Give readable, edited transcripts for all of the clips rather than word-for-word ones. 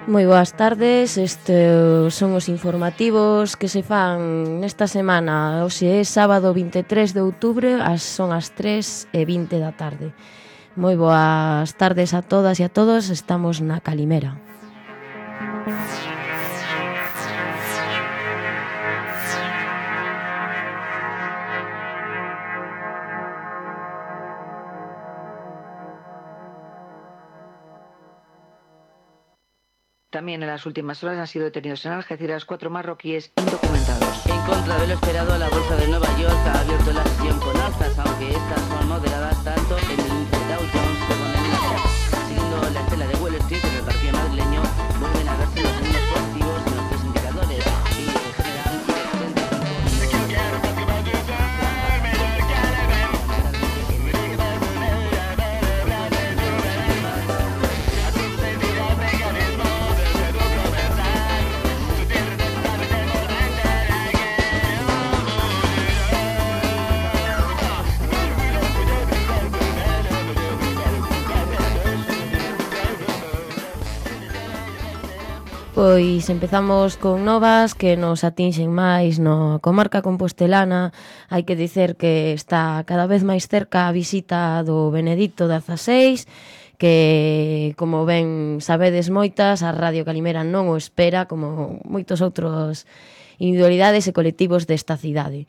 Moi boas tardes, estes son os informativos que se fan nesta semana. Hoxe é sábado 23 de outubro, son as 3:20 da tarde. Moi boas tardes a todas e a todos, estamos na Calimera. También en las últimas horas han sido detenidos en Algeciras 4 marroquíes indocumentados. En contra de lo esperado, la Bolsa de Nueva York ha abierto la sesión con alzas, aunque estas son moderadas tanto en el índice Dow Jones como en el Nasdaq. Siguiendo la estela de Wall Street, en el partido madrileño vuelven a verse los mismos positivos en los tres indicadores y en general Pois empezamos con novas que nos atinxen máis na comarca compostelana. Hai que dicer que está cada vez máis cerca a visita do Benedicto XVI, que, como ben sabedes moitas, a Radio Calimera non o espera, como moitos outros individualidades e colectivos desta cidade.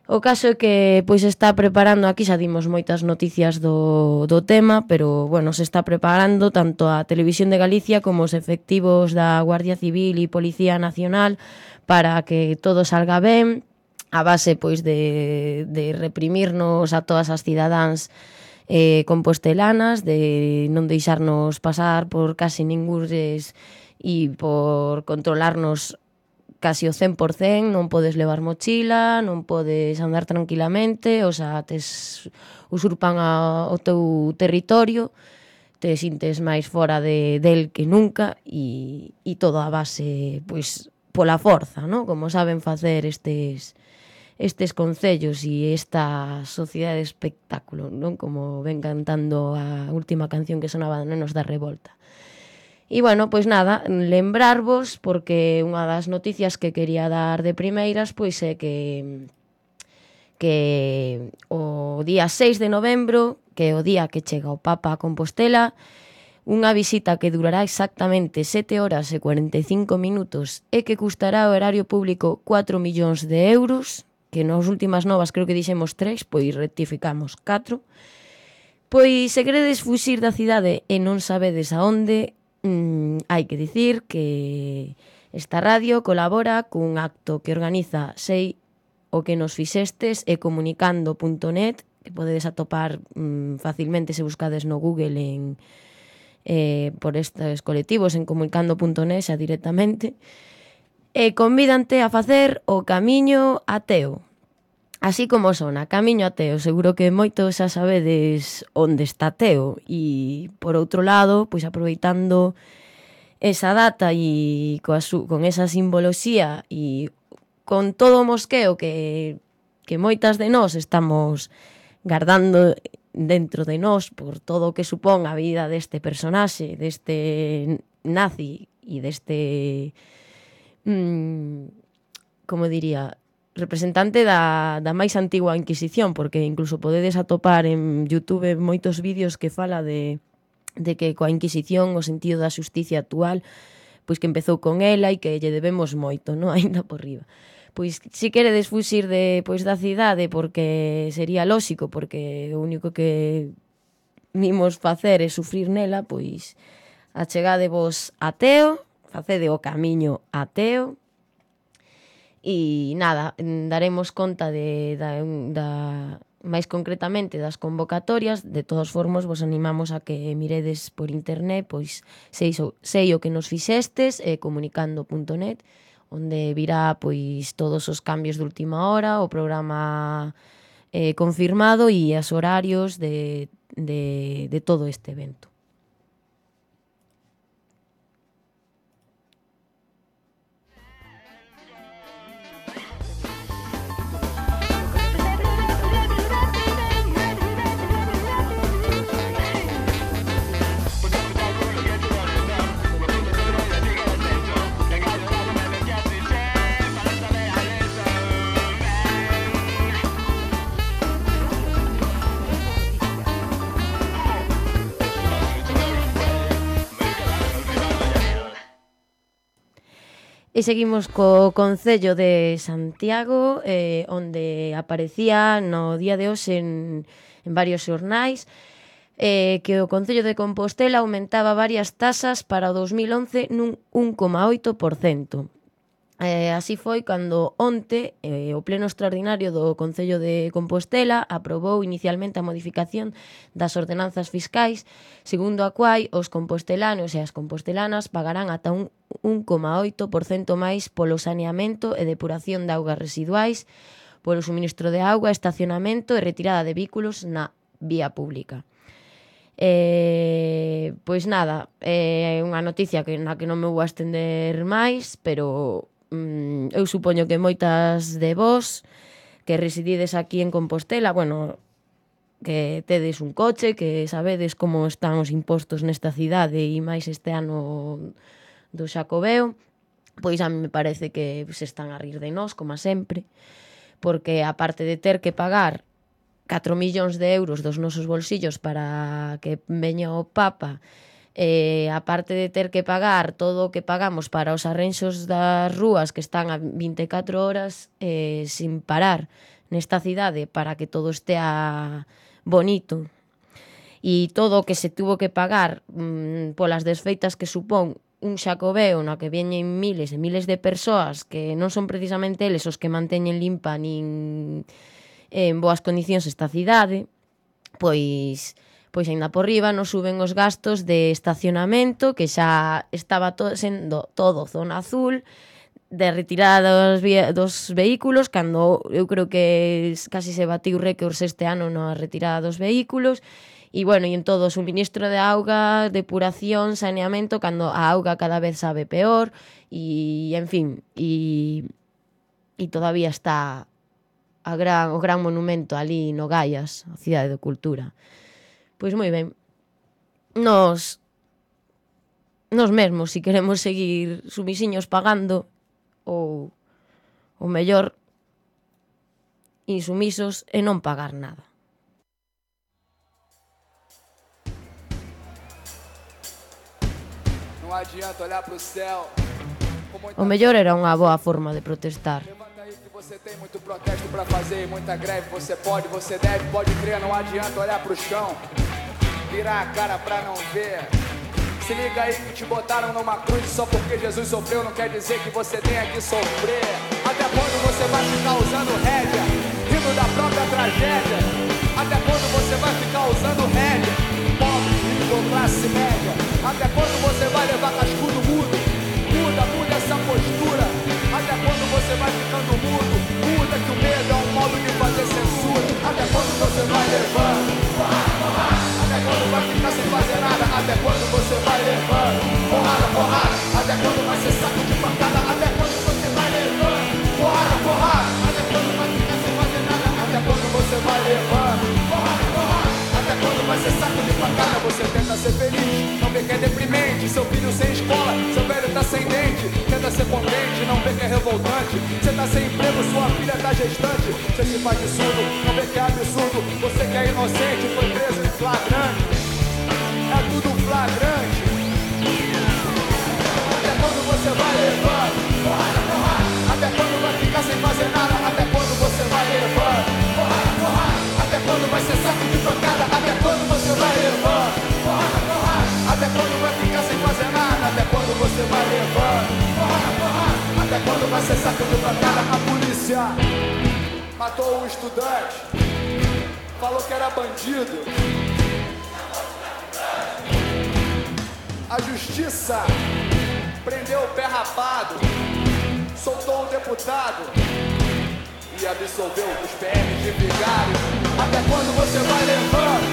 O caso é que pois está preparando, aquí xa dimos moitas noticias do tema, pero bueno, se está preparando tanto a Televisión de Galicia como os efectivos da Guardia Civil e Policía Nacional para que todo salga ben, a base pois de reprimirnos a todas as cidadáns compostelanas, de non deixarnos pasar por casi ningures e por controlarnos casi o 100%, non podes levar mochila, non podes andar tranquilamente, o sea, usurpan o teu territorio, te sintes máis fora del que nunca e todo a base, pois, pola forza, non? Como saben facer estes concellos e esta sociedade de espectáculo, non? Como ven cantando a última canción que sonaba de Nenos da Revolta. E, bueno, pois nada, lembrarvos, porque unha das noticias que quería dar de primeiras, pois é que o día 6 de novembro, que é o día que chega o Papa a Compostela, unha visita que durará exactamente 7 horas e 45 minutos e que custará ao erario público 4 millóns de euros, que nas últimas novas creo que dixemos 3, pois rectificamos 4. Pois se queredes fuxir da cidade e non sabedes a onde, hai que dicir que esta radio colabora cun acto que organiza Sei o que nos fixestes e comunicando.net, que podedes atopar facilmente se buscades no Google por estes colectivos en comunicando.net xa directamente, e convídante a facer o Camiño Ateo. Así como sona, Camiño a Teo, seguro que moitos xa sabedes onde está Teo. E, por outro lado, pois aproveitando esa data e con esa simboloxía e con todo o mosqueo que moitas de nós estamos guardando dentro de nós por todo o que supón a vida deste personaxe, deste nazi e deste, como diría, representante da máis antigua Inquisición, porque incluso podedes atopar en YouTube moitos vídeos que fala de que coa Inquisición o sentido da xusticia actual, pois que empezou con ela e que lle debemos moito, non? Ainda por riba. Pois se queredes fuxir da cidade, porque sería lóxico, porque o único que vimos facer é sufrir nela, pois achegadevos a Teo, facede o Camiño a Teo. E nada, daremos conta máis concretamente das convocatorias. De todos formos, vos animamos a que miredes por internet, pois sei o que nos fixestes, comunicando.net, onde virá pois todos os cambios de última hora, o programa confirmado e os horarios de todo este evento. E seguimos co Concello de Santiago, onde aparecía no día de hoxe en varios xornais que o Concello de Compostela aumentaba varias tasas para o 2011 nun 1,8%. Así foi cando onte o pleno extraordinario do Concello de Compostela aprobou inicialmente a modificación das ordenanzas fiscais, segundo a cual os compostelanos e as compostelanas pagarán ata un 1,8% máis polo saneamento e depuración de augas residuais, polo suministro de auga, estacionamento e retirada de vehículos na vía pública. Pois nada, é unha noticia na que non me vou a estender máis, pero eu supoño que moitas de vós que residides aquí en Compostela, bueno, que tedes un coche, que sabedes como están os impostos nesta cidade e máis este ano do Xacobeo, pois a mí me parece que se están a rir de nós, como sempre, porque aparte de ter que pagar 4 millóns de euros dos nosos bolsillos para que veña o Papa, aparte de ter que pagar todo o que pagamos para os arrenxos das rúas que están a 24 horas sin parar nesta cidade para que todo estea bonito, e todo o que se tuvo que pagar polas desfeitas que supón un Xacobeo na que veñen miles e miles de persoas que non son precisamente eles os que manteñen limpa nin en boas condicións esta cidade, pois aínda por riba nos suben os gastos de estacionamento, que xa estaba sendo todo zona azul, de retirada dos vehículos, cando eu creo que casi se batiu récords este ano na retirada dos vehículos, e bueno, e en todo o suministro de auga, depuración, saneamento, cando a auga cada vez sabe peor, e en fin, e todavía está o gran monumento ali no Gaias, a Cidade de Cultura. Pois moi ben, nos mesmos, se queremos seguir sumisiños pagando, ou o mellor insumisos e non pagar nada. O mellor era unha boa forma de protestar. Você tem muito protesto pra fazer, muita greve, você pode crer, não adianta olhar pro chão, virar a cara pra não ver. Se liga aí que te botaram numa cruz só porque Jesus sofreu, não quer dizer que você tenha que sofrer. Até quando você vai ficar usando rédea, rindo da própria tragédia? Até quando você vai ficar usando rédea, pobre, rico ou classe média? Até quando você vai levar cascudo mudo? Muda essa postura. Até quando você vai ficando mudo? Muda que o medo é um modo de fazer censura. Até quando você vai levando? Até quando vai ficar sem fazer nada? Até quando você vai levando? Porrada. Até quando vai ser saco de pancada? Até quando você vai levando? Porrada. Até quando vai ficar sem fazer nada? Até quando você vai levando? Porrada. Até quando vai ser saco de pancada? Você tenta ser feliz, não vê que é deprimente. Seu filho sem escola, seu velho tá sem dente. Tenta ser contente, não vê que é revoltante. Você tá sem emprego, sua filha tá gestante. Você se faz de surdo, não vê que é absurdo. Você que é inocente, foi preso em flagrante. É tudo flagrante. Até quando você vai levando? Até quando vai ficar sem fazer nada? Até quando você vai levando? Até quando vai ser saco de pancada? Até quando você vai levando? Até quando vai ficar sem fazer nada? Até quando você vai levando? Até quando vai ser saco de pancada? A polícia matou um estudante, falou que era bandido. A justiça prendeu o pé rapado, soltou o deputado e absolveu os PMs de vigário. Até quando você vai levando?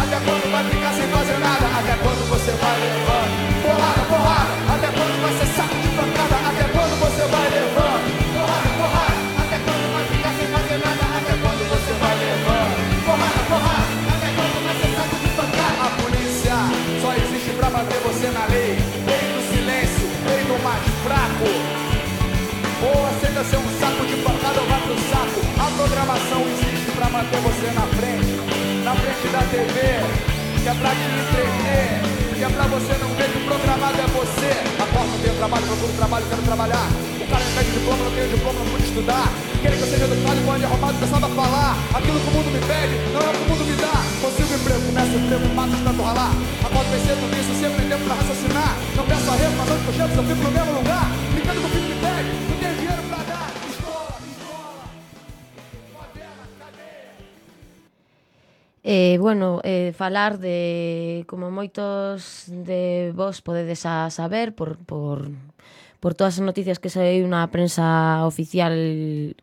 Até quando vai ficar sem fazer nada? Até quando você vai levando? Porrada. Até quando vai ser saco de pancada? Até quando você vai levando? Porrada. Até quando vai ficar sem fazer nada? Até quando você vai levando? Porrada. Até quando vai ser saco de pancada? A polícia só existe pra manter você na lei. Lei do silêncio, lei do mais fraco. Ou aceita ser um saco de pancada ou vai pro saco. A programação existe pra manter você na frente da TV, que é pra te entreter, que é pra você não ver que o programado é você. Acorda, tenho trabalho, procuro no trabalho, quero trabalhar. O cara me pede diploma, não tenho diploma, não pude estudar. Querem que eu seja educado e quando arrumado começava a falar. Aquilo que o mundo me pede, não é o que o mundo me dá. Consigo emprego, começo o emprego, mato de tanto ralar. Acordo bem cedo, isso sempre tem tempo pra raciocinar. Não peço arrego, mas onde que eu chego, eu fico no mesmo lugar. Brincando com o filho me pede, não tenho dinheiro pra dar. Escola, favela, cadeia. Bueno, falar de, como moitos de vos podedes a saber por todas as noticias que saiu na prensa oficial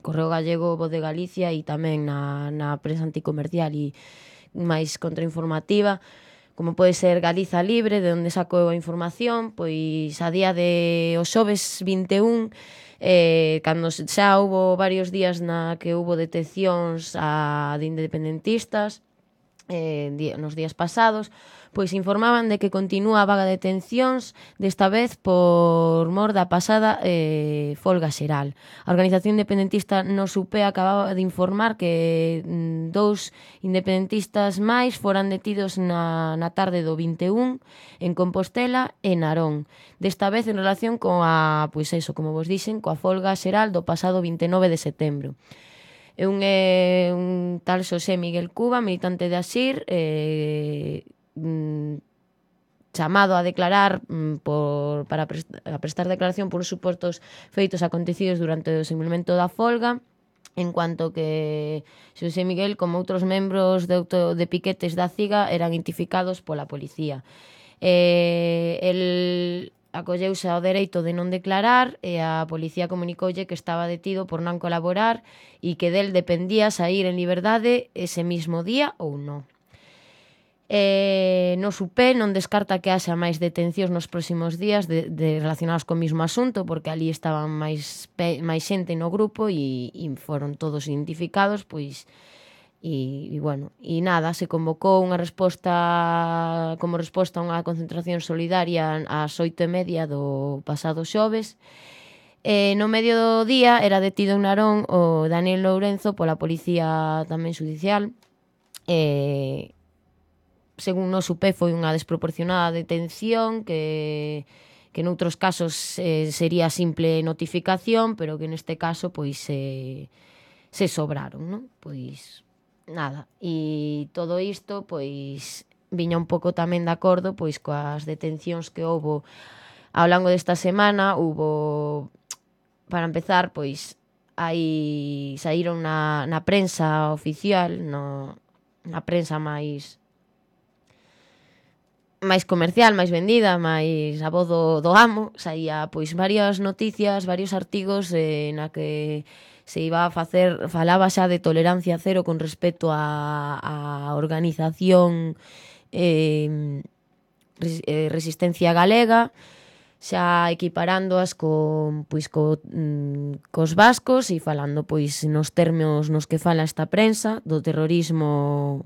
Correo Gallego, Voz de Galicia e tamén na prensa anticomercial e máis contrainformativa, como pode ser Galiza Libre, de onde sacou a información, pois a día de os xoves 21, cando xa houbo varios días na que houbo detencións de independentistas, nos días pasados, pois informaban de que continúa a vaga de detencións, desta vez por mor da pasada folga xeral. A organización independentista no Supé acababa de informar que 2 independentistas máis foran detidos na tarde do 21 en Compostela e Narón. Desta vez en relación coa, pois eso, como vos dixen, coa folga xeral do pasado 29 de setembro. É un tal Xosé Miguel Cuba, militante de ASIR, chamado a declarar para prestar declaración por supostos feitos acontecidos durante o desenvolvemento da folga, en cuanto que Xosé Miguel, como outros membros de piquetes da CIGA, eran identificados pola policía. El acolleuse ao dereito de non declarar e a policía comunicoulle que estaba detido por non colaborar e que del dependía sair en liberdade ese mismo día ou non. No Supé non descarta que haxa máis detencións nos próximos días relacionados co mismo asunto, porque ali estaban máis xente no grupo e foron todos identificados, pois. E bueno, e nada, se convocou unha resposta como resposta a unha concentración solidaria ás 8:30 do pasado xoves. No medio do día era detido en Narón o Daniel Lourenzo pola policía tamén xudicial. Según no Supé, foi unha desproporcionada detención que noutros casos sería simple notificación, pero que neste caso pois se sobraron, non? Pois nada, e todo isto pois viña un pouco tamén de acordo pois coas detencións que houbo ao longo desta semana. Houbo, para empezar, pois saíron na prensa oficial, na prensa máis comercial, máis vendida, máis a voz do amo, saía pois varias noticias, varios artigos na que se iba a falaba xa de tolerancia cero con respecto a organización Resistencia Galega, xa equiparándoas cos vascos e falando pois nos termos nos que fala esta prensa do terrorismo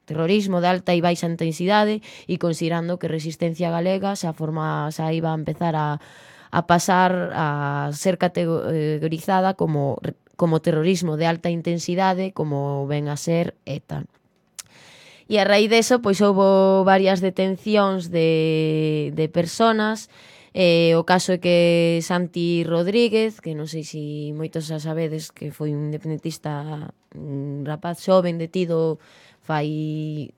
de alta e baixa intensidade, e considerando que Resistencia Galega xa iba a empezar a pasar a ser categorizada como terrorismo de alta intensidade, como ven a ser ETA. E a raíz deso, pois houbo varias detencións de personas. O caso é que Santi Rodríguez, que non sei se moitos xa sabedes, que foi un independentista, un rapaz xoven detido fai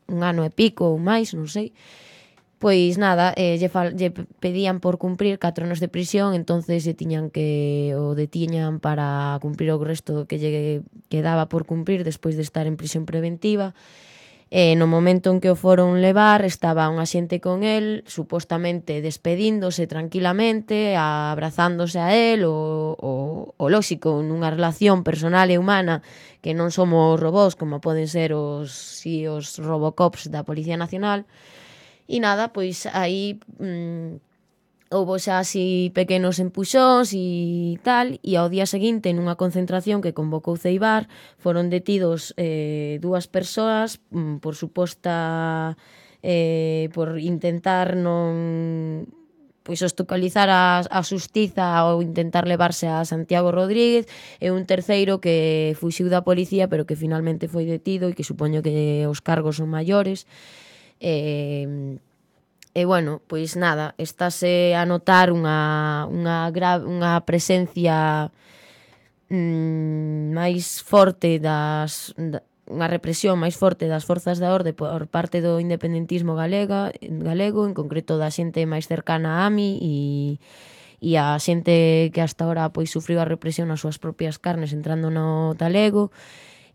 un ano e pico ou máis, non sei. Pois nada, lle pedían por cumprir 4 anos de prisión, entonces o detiñan para cumprir o resto que lle quedaba por cumprir despois de estar en prisión preventiva. No momento en que o foron levar, estaba un axente con el, supostamente despedíndose tranquilamente, abrazándose a él, o lóxico, nunha relación personal e humana, que non somos robós, como poden ser os Robocops da Policía Nacional. E nada, pois aí houbo xa así pequenos empuxóns e tal, e ao día seguinte, nunha concentración que convocou Ceibar, foron detidos 2 persoas por suposta por intentar obstaculizar a xustiza ou intentar levarse a Santiago Rodríguez, e un terceiro que fuxiu da policía pero que finalmente foi detido e que supoño que os cargos son maiores. E, bueno, pois nada, estáse a notar unha presencia máis forte unha represión máis forte das forzas da orde por parte do independentismo galego, en concreto da xente máis cercana a AMI e a xente que hasta ahora pois sufriu a represión nas súas propias carnes entrando no talego.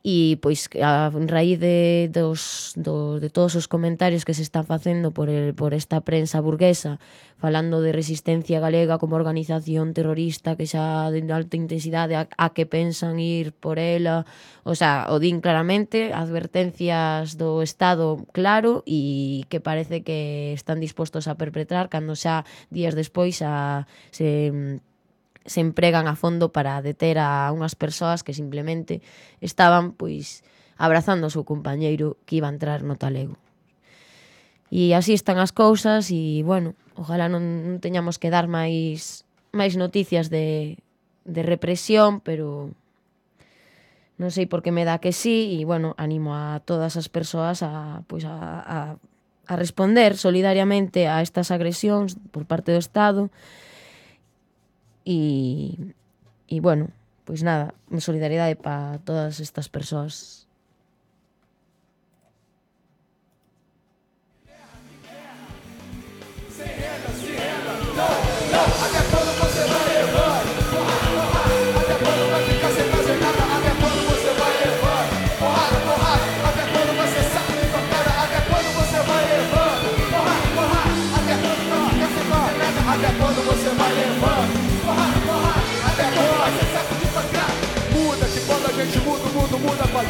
E pois a raíz de todos os comentarios que se están facendo por esta prensa burguesa falando de Resistencia Galega como organización terrorista que xa de alta intensidade a que pensan ir por ela, o sea, o din claramente, advertencias do Estado claro e que parece que están dispostos a perpetrar cando xa días despois se empregan a fondo para deter a unhas persoas que simplemente estaban pois abrazando o seu compañeiro que iba a entrar no talego. E así están as cousas e, bueno, ojalá non teñamos que dar máis noticias de represión, pero non sei por que me dá que sí e, bueno, animo a todas as persoas a responder solidariamente a estas agresións por parte do Estado. E bueno, pois nada, solidaridade para todas estas persoas. Muda com a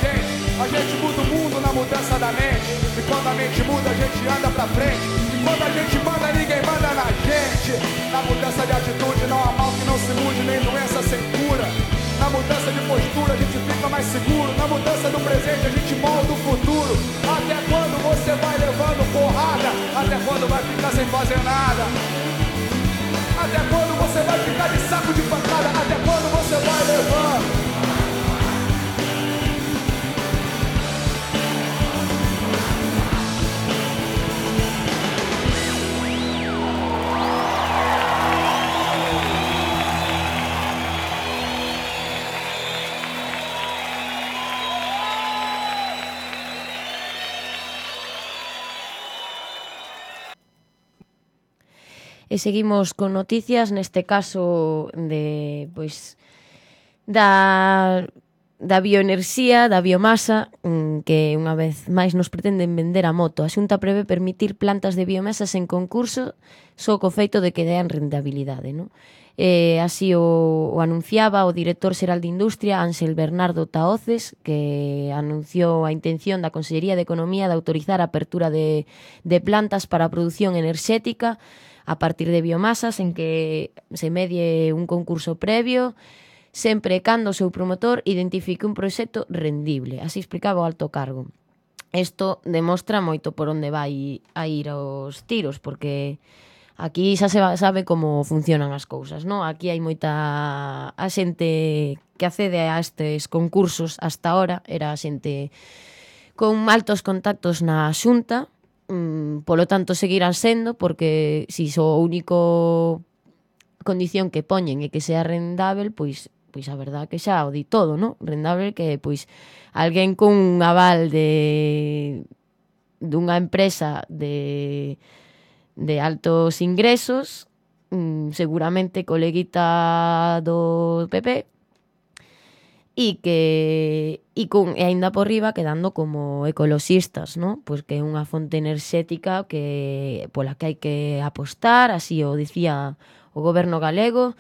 gente muda o mundo na mudança da mente. E quando a mente muda, a gente anda pra frente. E quando a gente manda, ninguém manda na gente. Na mudança de atitude não há mal que não se mude, nem doença sem cura. Na mudança de postura, a gente fica mais seguro. Na mudança do presente, a gente molda o futuro. Até quando você vai levando porrada? Até quando vai ficar sem fazer nada? Até quando você vai ficar de saco de pancada? Até quando você vai levando? E seguimos con noticias, neste caso de pois da bioenerxía, da biomasa, que unha vez máis nos pretenden vender a moto. A Xunta prevé permitir plantas de biomasas en concurso só co feito de que dean rentabilidade, non? Así o anunciaba o director xeral de Industria, Ángel Bernardo Tahoces, que anunciou a intención da Consellería de Economía de autorizar a apertura de plantas para a produción enerxética a partir de biomasas en que se medie un concurso previo, sempre cando o seu promotor identifique un proxecto rendible. Así explicaba o alto cargo. Isto demostra moito por onde vai a ir os tiros, porque aquí xa se sabe como funcionan as cousas, non? Aquí hai moita a xente que accede a estes concursos hasta ahora, era a xente con altos contactos na Xunta, polo tanto seguirán sendo, porque si o único condición que poñen é que sea rendável, pois a verdad que xa o di todo, non? Rendável que pois alguén con un aval dunha empresa de altos ingresos, seguramente coleguita do PP, e aínda por riba quedando como ecoloxistas, non? Pois que é unha fonte enerxética pola que hai que apostar, así o dicía o goberno galego.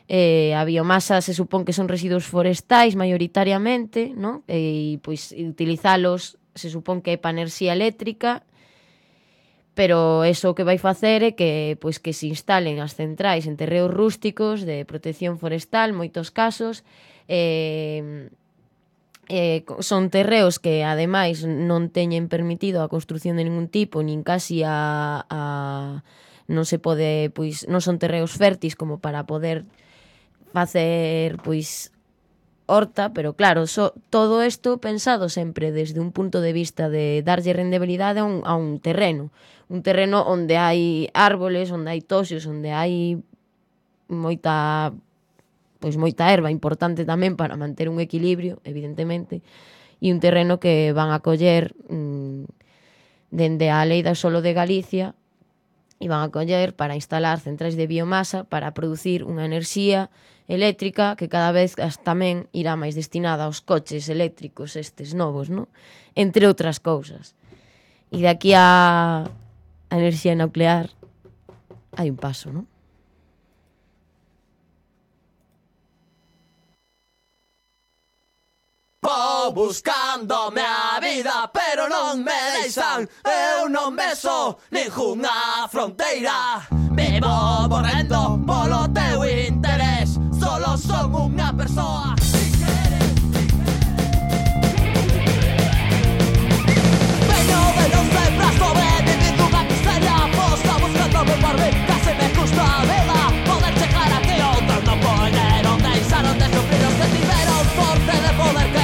A biomasa se supón que son residuos forestais maioritariamente, non? E pois utilizalos se supón que é para enerxía eléctrica, pero eso o que vai facer é que pois que se instalen as centrais en terreos rústicos de protección forestal, moitos casos, son terreos que ademais non teñen permitido a construción de ningún tipo, nin casi non se pode, pois non son terreos férteis como para poder facer pois horta, pero claro, todo isto pensado sempre desde un punto de vista de darlle rendibilidade a un terreno onde hai árboles, onde hai toxos, onde hai moita erva importante tamén para manter un equilibrio, evidentemente, e un terreno que van a coller dende a Lei do Solo de Galicia e van a coller para instalar centrais de biomasa para producir unha enerxía eléctrica que cada vez tamén irá máis destinada aos coches eléctricos estes novos, non? Entre outras cousas. E de aquí a enerxía nuclear hai un paso, non? Vou buscándome a vida, pero non me deixan. Eu non beso ningunha fronteira. Vivo morrendo polo teu interés. Solo son unha persoa. Veño de non sempre sobrevivir dunha miseria. Posta buscándome por mí, casi me custa a vida. Poder chegar aquí outros non poñeron, deixaron de sufrir os que tiveron sorte de poder que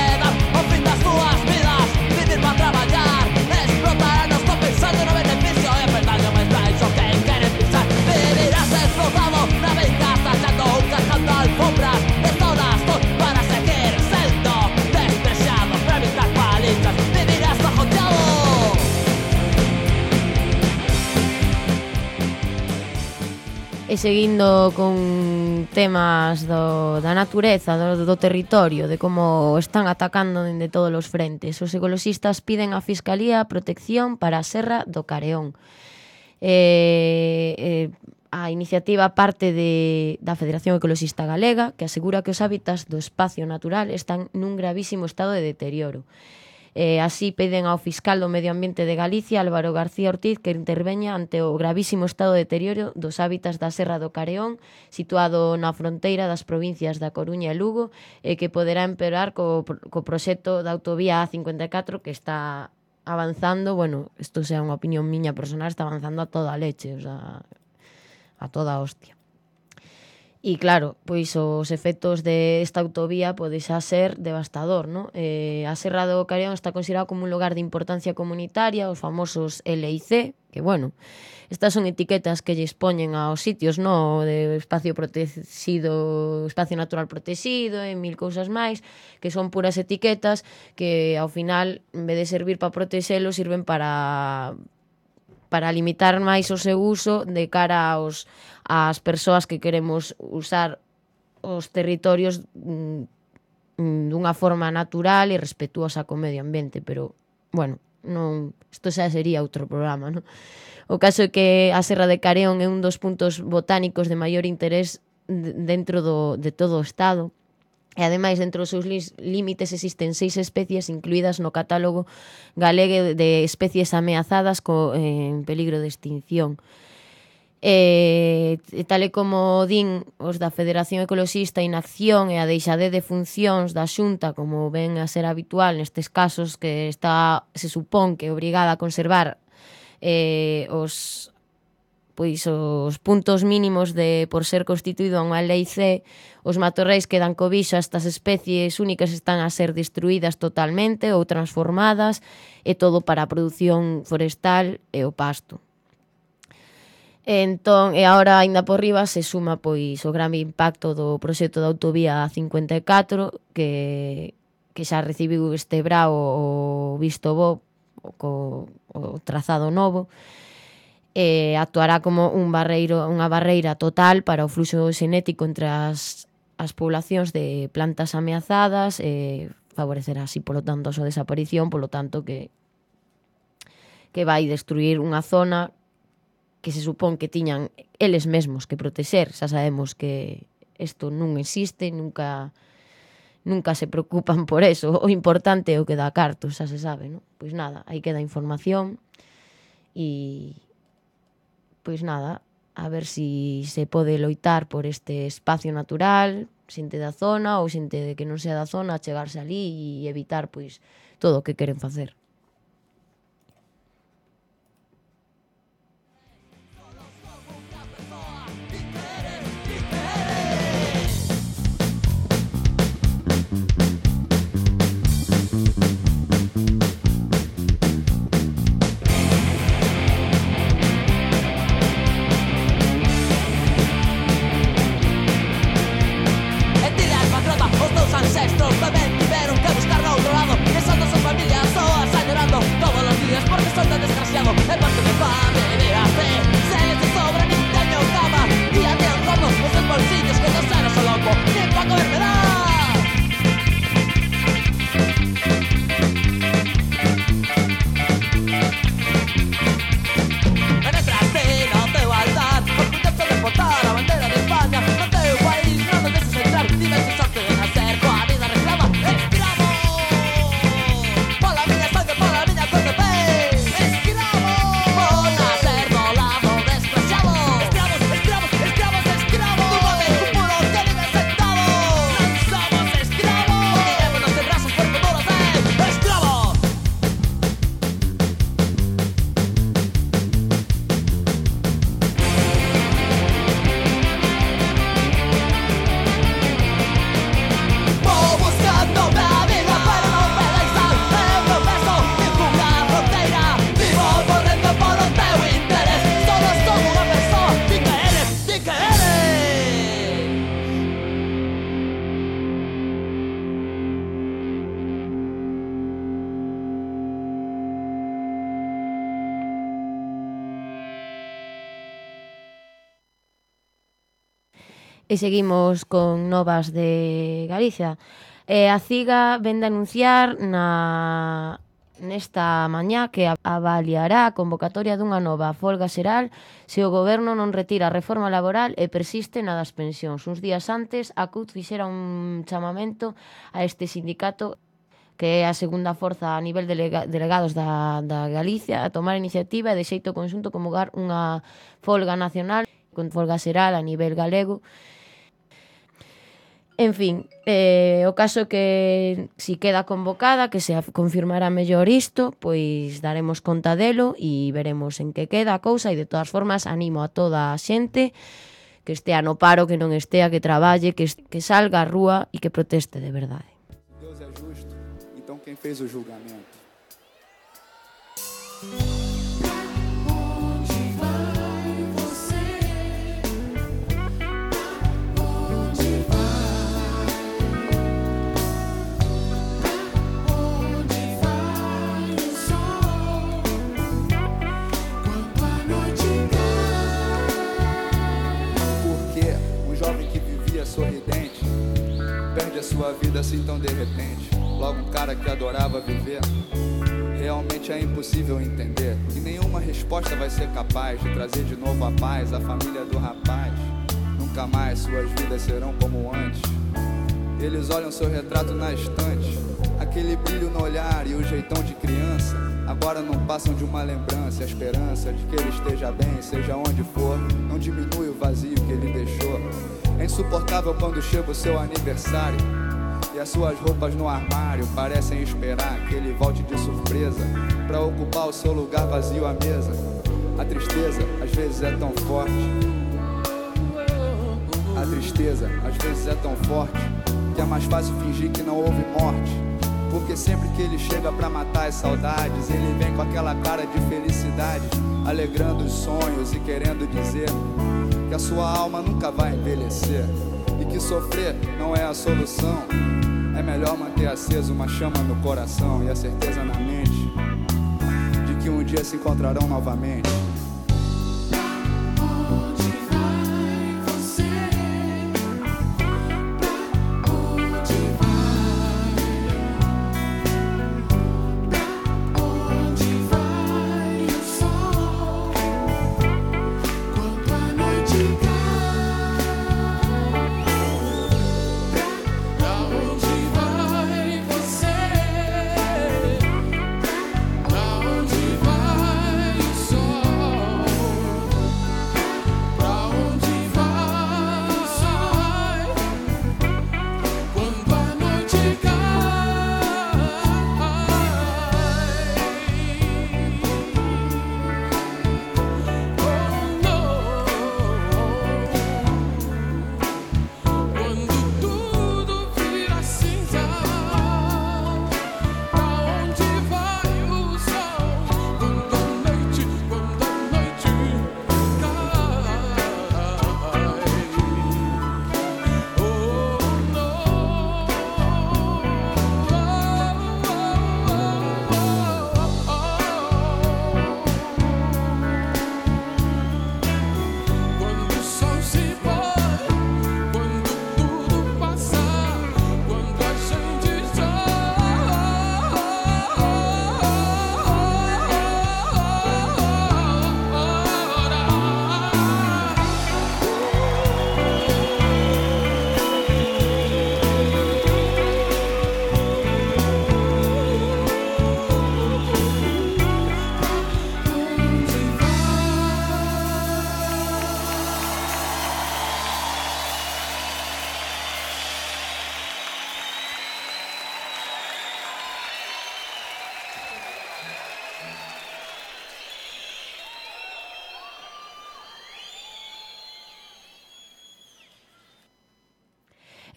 traballar, explotar, no estou pensando no beneficio, é verdade, mas vais o que queren pisar. Vivirás explotado na venganza, echando un cajando alfombras de todas para seguir sendo despreciado, para evitar palizas, vivirás bajoteado. E seguindo con temas da natureza, do territorio, de como están atacando dende todos os frentes, os ecoloxistas piden á Fiscalía protección para a Serra do Careón. A iniciativa parte da Federación Ecoloxista Galega, que asegura que os hábitats do espacio natural están nun gravísimo estado de deterioro. Así piden ao fiscal do Medio Ambiente de Galicia, Álvaro García Ortiz, que interveña ante o gravísimo estado de deterioro dos hábitats da Serra do Careón, situado na fronteira das provincias da Coruña e Lugo, e que poderá empeorar co proxecto da autovía A54 que está avanzando, bueno, isto sea unha opinión miña personal, está avanzando a toda a leche, o sea, a toda a hostia. E claro, pois os efectos desta autovía pode xa ser devastador, non? A Serra do Careón está considerado como un lugar de importancia comunitaria, os famosos LIC, que bueno, estas son etiquetas que lles poñen aos sitios, non? De espacio protegido, espacio natural protegido e mil cousas máis, que son puras etiquetas que ao final, en vez de servir para protexelo, sirven para limitar máis o seu uso de cara ás persoas que queremos usar os territorios dunha forma natural e respetuosa co medio ambiente, pero, bueno, non, isto xa sería outro programa, non? O caso é que a Serra de Careón é un dos puntos botánicos de maior interés dentro de todo o Estado. E ademais, dentro dos seus límites existen 6 especies incluídas no catálogo galego de especies ameazadas en peligro de extinción. Tal e como din os da Federación Ecoloxista, Inacción e a deixade de funcións da Xunta, como ven a ser habitual nestes casos, que se supón que é obrigada a conservar os puntos mínimos por ser constituído unha lei C, os matorrais que dan cobixa a estas especies únicas están a ser destruídas totalmente ou transformadas, e todo para a produción forestal e o pasto. Entón, e agora, aínda por riba, se suma pois o gran impacto do proxecto da autovía A54, que xa recibiu este brao o visto bo, o trazado novo, actuará como unha barreira total para o fluxo xenético entre as poblacións de plantas ameazadas, e favorecerá así, polo tanto, a súa desaparición, polo tanto que vai destruir unha zona que se supón que tiñan eles mesmos que protexer. Xa sabemos que isto non existe, nunca se preocupan por eso. O importante é o que dá cartos, xa se sabe, non? Pois nada, aí queda información e pois nada, a ver se pode loitar por este espacio natural, xente da zona ou xente que non sea da zona, chegarse ali e evitar pois todo o que queren facer. E seguimos con novas de Galicia. A CIGA vende anunciar nesta mañá que avaliará a convocatoria dunha nova folga xeral se o goberno non retira a reforma laboral e persiste na das pensións. Uns días antes, a CUT fixera un chamamento a este sindicato, que é a segunda forza a nivel delegados da Galicia, a tomar iniciativa e de xeito conxunto convocar unha folga nacional con folga xeral a nivel galego. En fin, o caso que si queda convocada, que se confirmará mellor isto, pois daremos conta delo e veremos en que queda a cousa, e de todas formas animo a toda a xente que estea no paro, que non estea, que traballe, que salga á rúa e que proteste de verdade. Deus é justo, então quem fez o julgamento? Sorridente, perde a sua vida assim tão de repente. Logo um cara que adorava viver, realmente é impossível entender. E nenhuma resposta vai ser capaz de trazer de novo a paz à família do rapaz. Nunca mais suas vidas serão como antes. Eles olham seu retrato na estante, aquele brilho no olhar e o jeitão de criança. Agora não passam de uma lembrança, a esperança de que ele esteja bem, seja onde for. Não diminui o vazio que ele deixou. É insuportável quando chega o seu aniversário e as suas roupas no armário parecem esperar que ele volte de surpresa pra ocupar o seu lugar vazio à mesa. A tristeza às vezes é tão forte. A tristeza às vezes é tão forte que é mais fácil fingir que não houve morte. Porque sempre que ele chega pra matar as saudades, ele vem com aquela cara de felicidade, alegrando os sonhos e querendo dizer que a sua alma nunca vai envelhecer e que sofrer não é a solução. É melhor manter acesa uma chama no coração e a certeza na mente de que um dia se encontrarão novamente.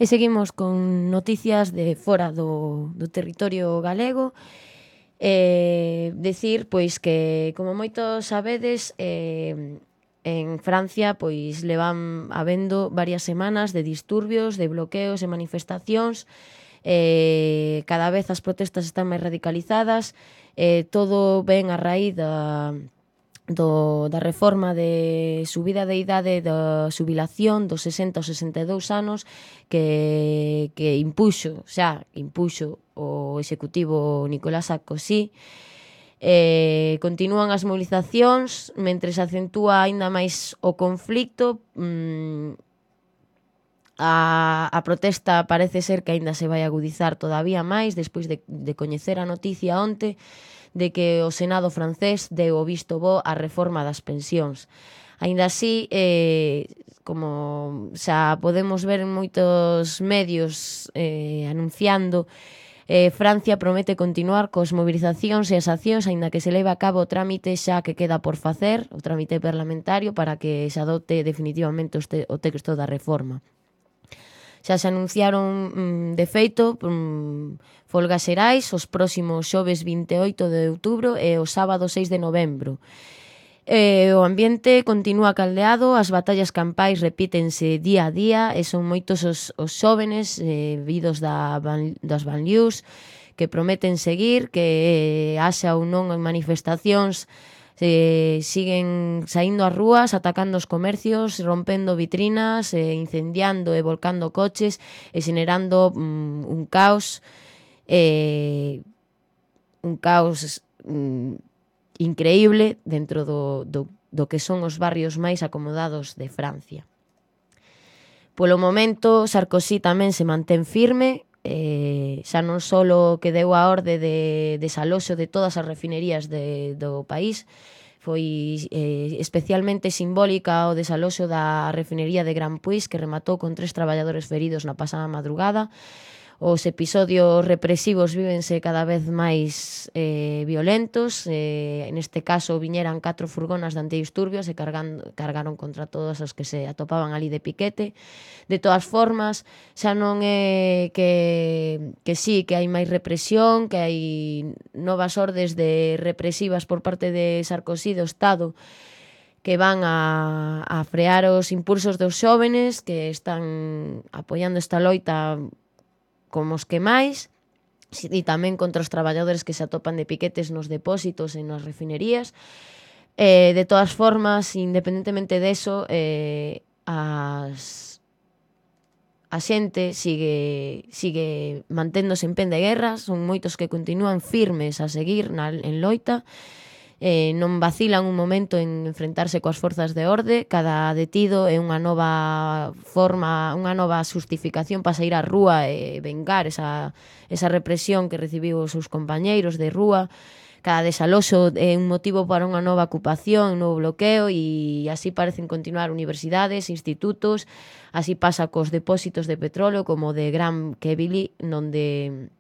E seguimos con noticias de fora do territorio galego. Decir, pois, que como moitos sabedes, en Francia pois levan habendo varias semanas de disturbios, de bloqueos e manifestacións. Cada vez as protestas están máis radicalizadas. Todo ven a raíz da reforma de subida de idade da xubilación dos 60 aos 62 anos que impuxo o executivo Nicolás Sarkozy. Continúan as movilizacións mentre se acentúa aínda máis o conflicto. A protesta parece ser que aínda se vai agudizar todavía máis despois de coñecer a noticia onte de que o Senado francés deu o visto bo á reforma das pensións. Aínda así, como xa podemos ver en moitos medios anunciando, Francia promete continuar cos movilizacións e as accións aínda que se leve a cabo o trámite xa que queda por facer, o trámite parlamentario, para que se adopte definitivamente o texto da reforma. Xa se anunciaron, de feito, folgas xerais os próximos xoves 28 de outubro e o sábado 6 de novembro. O ambiente continúa caldeado, as batallas campais repítense día a día e son moitos os xóvenes vidos das banlieues que prometen seguir, que haxa ou non en manifestacións, siguen saindo ás rúas, atacando os comercios, rompendo vitrinas, incendiando e volcando coches e xenerando un caos increíble dentro do que son os barrios máis acomodados de Francia. Polo momento, Sarkozy tamén se mantén firme, xa non só que deu a orde de desaloxo de todas as refinerías do país, foi especialmente simbólica o desaloxo da refinería de Grand Puig, que rematou con 3 traballadores feridos na pasada madrugada. Os episodios represivos vívense cada vez máis violentos. Neste caso viñeran 4 furgonas de antidisturbios e cargaron contra todos os que se atopaban ali de piquete. De todas formas, xa non é que sí, que hai máis represión, que hai novas ordes represivas por parte de Sarkozy do Estado que van a frear os impulsos dos xóvenes que están apoiando esta loita como os que máis, e tamén contra os traballadores que se atopan de piquetes nos depósitos e nas refinerías. De todas formas, independentemente deso, a xente sigue manténdose en pen de guerra, son moitos que continúan firmes a seguir en loita, non vacilan un momento en enfrentarse coas forzas de orde. Cada detido é unha nova forma, unha nova xustificación para sair á rúa e vengar esa represión que recibiu os seus compañeiros de rúa. Cada desaloxo é un motivo para unha nova ocupación, un novo bloqueo, e así parecen continuar universidades, institutos. Así pasa cos depósitos de petróleo como de Grand Quevilly, onde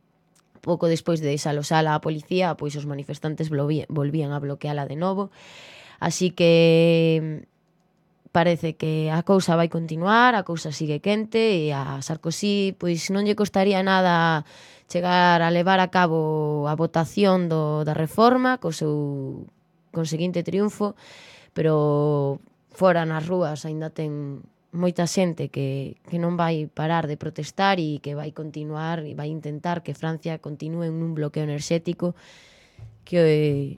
pouco despois de desaloxala a policía, pois os manifestantes volvían a bloqueala de novo. Así que parece que a cousa vai continuar, a cousa sigue quente, e a Sarkozy pois non lle costaría nada chegar a levar a cabo a votación da reforma co seu conseguinte triunfo, pero fora nas rúas aínda ten moita xente que non vai parar de protestar e que vai continuar e vai intentar que Francia continúe en un bloqueo enerxético que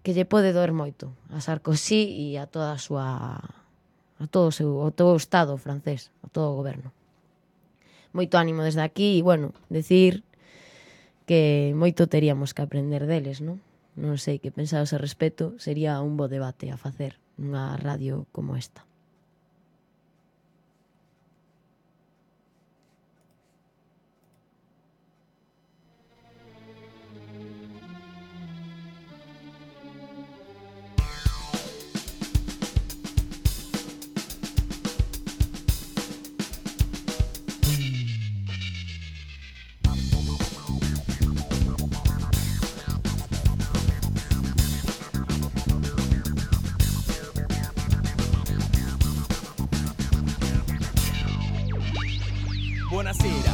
lle pode doer moito a Sarkozy e a toda a súa todo o Estado francés, a todo o goberno. Moito ánimo desde aquí e, bueno, decir que moito teríamos que aprender deles, non? Non sei que pensados a respecto, sería un bo debate a facer nunha radio como esta. Buonasera,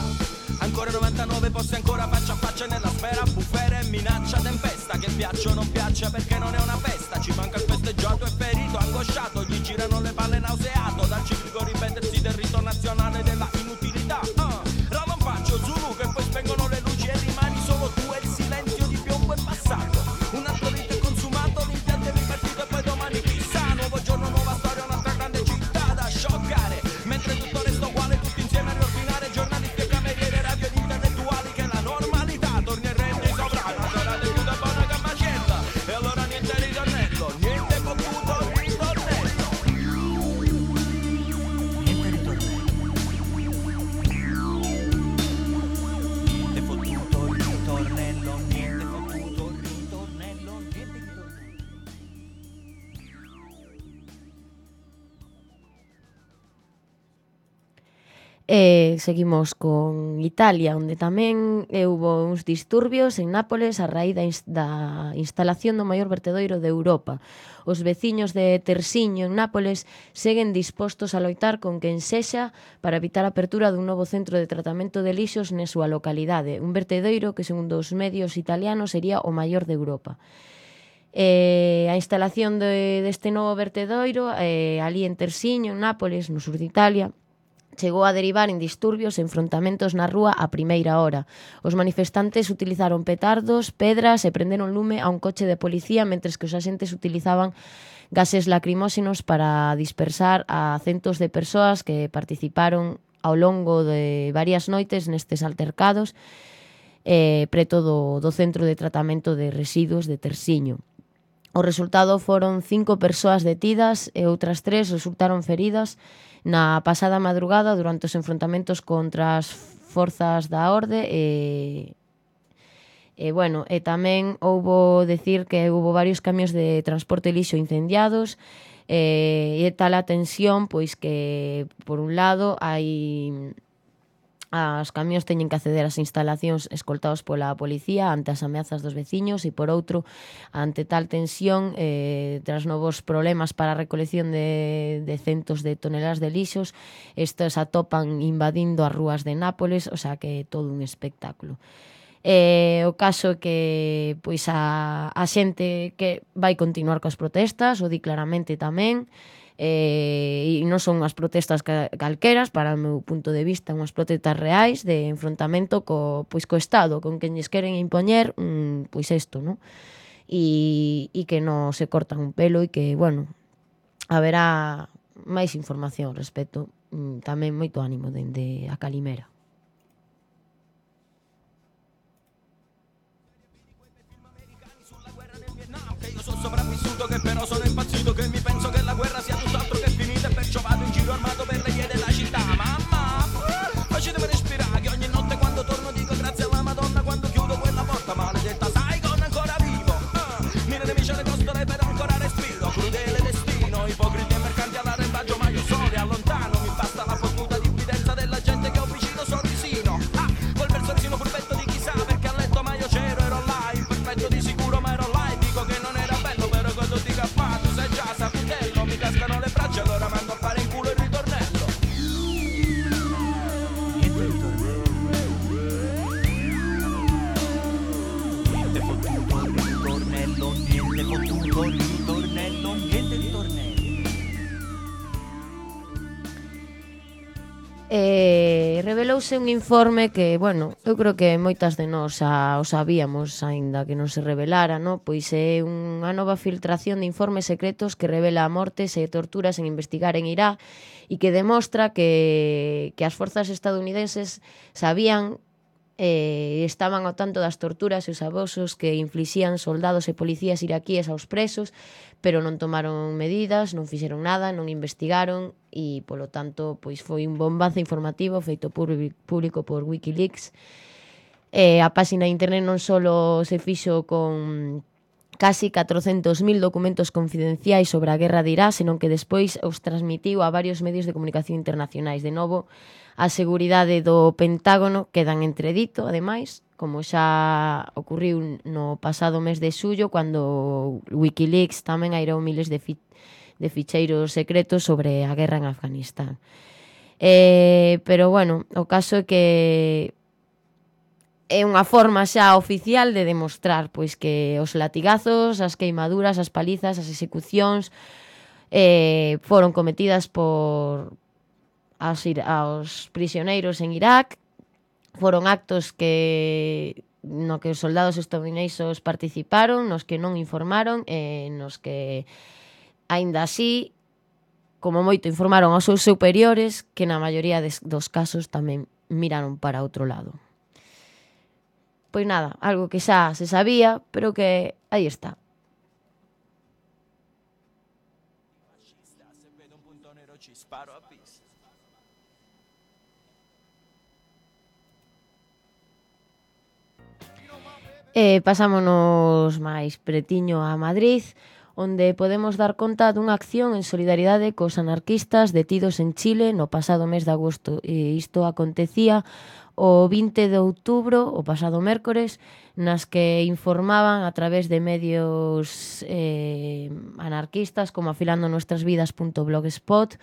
ancora 99 posti, ancora faccia a faccia nella sfera, bufera e minaccia, tempesta, che piaccia o non piaccia perché non è una festa, ci manca il festeggiato e ferito, angosciato, gli girano le palle nauseato, dal ciclico ripetersi del rito nazionale della inutilità, ravampaccio, Zulu che poi spengono le luci e rimani solo tu e il silenzio di piombo è passato, un altro rito è consumato, l'impianto è Seguimos con Italia, onde tamén houbo uns disturbios en Nápoles a raíz da instalación do maior vertedoiro de Europa. Os veciños de Tersiño en Nápoles seguen dispostos a loitar con quen sexa para evitar a apertura dun novo centro de tratamento de lixos na súa localidade, un vertedoiro que, segundo os medios italianos, sería o maior de Europa. A instalación deste novo vertedoiro ali en Tersiño, en Nápoles, no sur de Italia, chegou a derivar en disturbios e enfrontamentos na rúa a primeira hora. Os manifestantes utilizaron petardos, pedras e prenderon lume a un coche de policía, mentres que os axentes utilizaban gases lacrimóxenos para dispersar a centos de persoas que participaron ao longo de varias noites nestes altercados preto do centro de tratamento de residuos de Tersiño. O resultado foron 5 persoas detidas e outras 3 resultaron feridas na pasada madrugada durante os enfrontamentos contra as forzas da orde e tamén houbo decir que houbo varios camións de transporte lixo incendiados e tal a tensión pois que por un lado as camións teñen que acceder ás instalacións escoltados pola policía ante as ameazas dos veciños e, por outro, ante tal tensión, tras novos problemas para a recolección de centos de toneladas de lixos, estes atopan invadindo as rúas de Nápoles, o sea que todo un espectáculo. O caso é que pois a xente que vai continuar coas protestas, o di claramente tamén, e non son unhas protestas calqueras, para o meu punto de vista, unhas protestas reais de enfrontamento co Estado, con quen lles queren impoñer pois isto, non? E que non se cortan un pelo e que, bueno, haberá máis información ao respecto. Tamén moito ánimo dende a Calimera. Sono sopravvissuto che però sono impazzito, che mi penso che la guerra sia tutt'altro che finita e perciò vado in giro armato per le vie della città. Mamma, facetemi respirare che ogni notte quando torno dico grazie alla Madonna quando chiudo quella porta maledetta. Sai con ancora vivo, mille nemici alle costole però ancora respiro. Crudele destino, ipocriti e mercanti all'arrembaggio, ma io solo e allontano. Mi basta la fortuna diffidenza della gente che ho vicino sorrisino. Col versoncino furbetto di chissà perché a letto ma io c'ero, ero là, imperfetto di sicuro ma ero là e dico che non era bello, però quando ti cappa tu sei già saputello, mi cascano le braccia allora mando a fare in culo il ritornello. Niente fottuto ritornello, niente fottuto ritornello, niente ritornello. Revelouse un informe que, bueno, eu creo que moitas de nós o sabíamos, aínda que non se revelara, no? Pois é unha nova filtración de informes secretos que revela mortes e torturas en investigar en Irak e que demostra que as forzas estadounidenses sabían estaban ao tanto das torturas e os abusos que inflixían soldados e policías iraquíes aos presos, pero non tomaron medidas, non fixeron nada, non investigaron e, polo tanto, pois foi un bombazo informativo feito público por Wikileaks. A páxina de internet non só se fixo con casi 400.000 documentos confidenciais sobre a guerra de Irak, senón que despois os transmitiu a varios medios de comunicación internacionais. De novo, a seguridade do Pentágono queda en entredito, ademais, como xa ocurriu no pasado mes de xullo, cando Wikileaks tamén airou miles de ficheiros secretos sobre a guerra en Afganistán. Pero, bueno, o caso é que é unha forma xa oficial de demostrar pois que os latigazos, as queimaduras, as palizas, as execucións foron cometidas por aos prisioneiros en Irak. Foron actos no que os soldados estadounidenses participaron, nos que non informaron e nos que, aínda así, como moito informaron aos seus superiores, que na maioría dos casos tamén miraron para outro lado. Pois nada, algo que xa se sabía, pero que aí está. Pasámonos máis pretiño a Madrid, onde podemos dar conta dunha acción en solidaridade cos anarquistas detidos en Chile no pasado mes de agosto. E isto acontecía o 20 de outubro, o pasado mércores, nas que informaban a través de medios anarquistas como afilandonuestrasvidas.blogspot,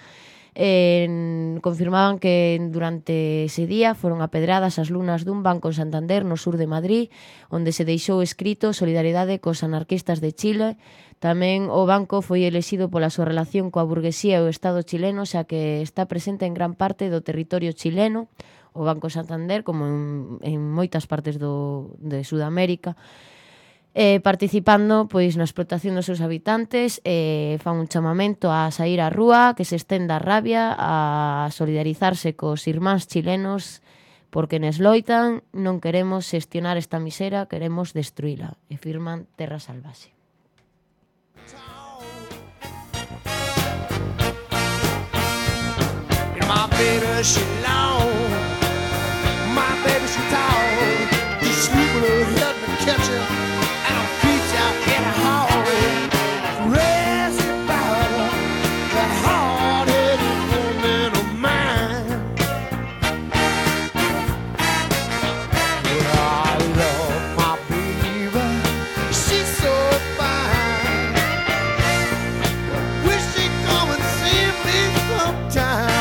confirmaban que durante ese día foron apedradas as lunas dun banco en Santander, no sur de Madrid, onde se deixou escrito solidaridade cos anarquistas de Chile. Tamén o banco foi elixido pola súa relación coa burguesía e o Estado chileno, xa que está presente en gran parte do territorio chileno, o Banco Santander, como en moitas partes de Sudamérica, participando pois na explotación dos seus habitantes, fan un chamamento a sair á rúa, que se estenda a rabia, a solidarizarse cos irmáns chilenos, porque nes loitan, non queremos xestionar esta misera, queremos destruíla, e firman Terra Salvaxe. My baby, she long. My baby, she tall. You sweet little help me catch her, and I'll feed you in a hall. Rest about that hard-headed woman of mine. But I love my baby, she's so fine. Wish she'd come and see me sometime.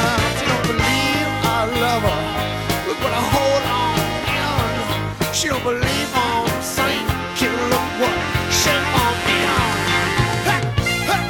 She don't believe all I'm saying. She look what she on me on. Hey, hey.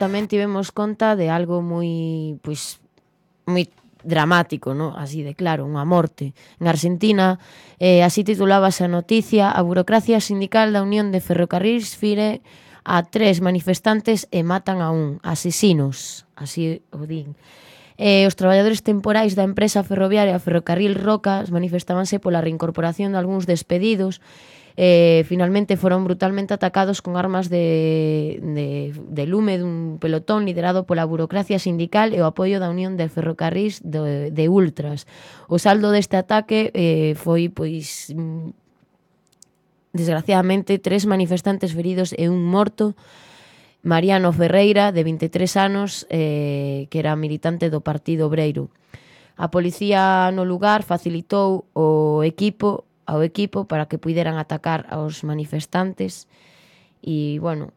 Tamén tivemos conta de algo moi dramático, ¿no? Así de claro, unha morte. En Argentina, así titulábase a noticia: a burocracia sindical da Unión de Ferrocarrils fire a 3 manifestantes e matan a un. Asesinos, así o din. Os traballadores temporais da empresa ferroviaria Ferrocarril Rocas manifestábanse pola reincorporación de algúns despedidos. Finalmente foron brutalmente atacados con armas de lume dun pelotón liderado pola burocracia sindical e o apoio da Unión de Ferrocarrís de Ultras. O saldo deste ataque foi, pois, desgraciadamente, 3 manifestantes feridos e un morto. Mariano Ferreira, de 23 anos, que era militante do Partido Obreiro. A policía no lugar facilitou ao equipo para que puideran atacar aos manifestantes e, bueno,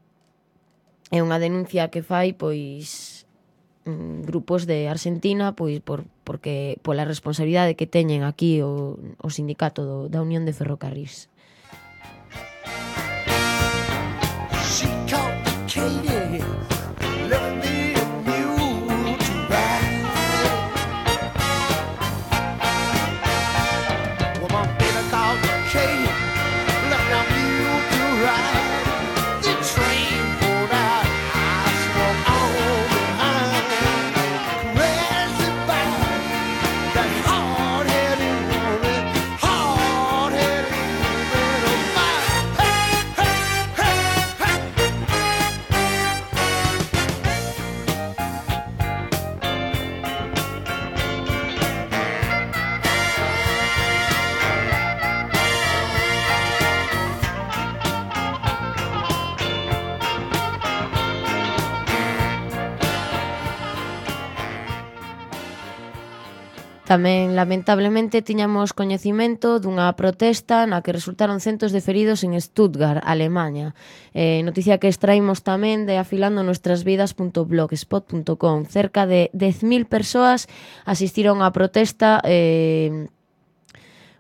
é unha denuncia que fai, pois, grupos de Argentina, pois, porque pola responsabilidade que teñen aquí o sindicato da Unión de Ferrocarrís. She complicated, left me a mule to ride. Well, my baby complicated, left me a mule to ride. The train pulled out, I swung on behind. Crazy about that hard-headed woman of mine. Hey, hey, hey, hey. Tamén, lamentablemente, tiñamos coñecimento dunha protesta na que resultaron centos de feridos en Stuttgart, Alemanha. Noticia que extraímos tamén de afilandonuestrasvidas.blogspot.com. Cerca de 10.000 persoas asistiron á protesta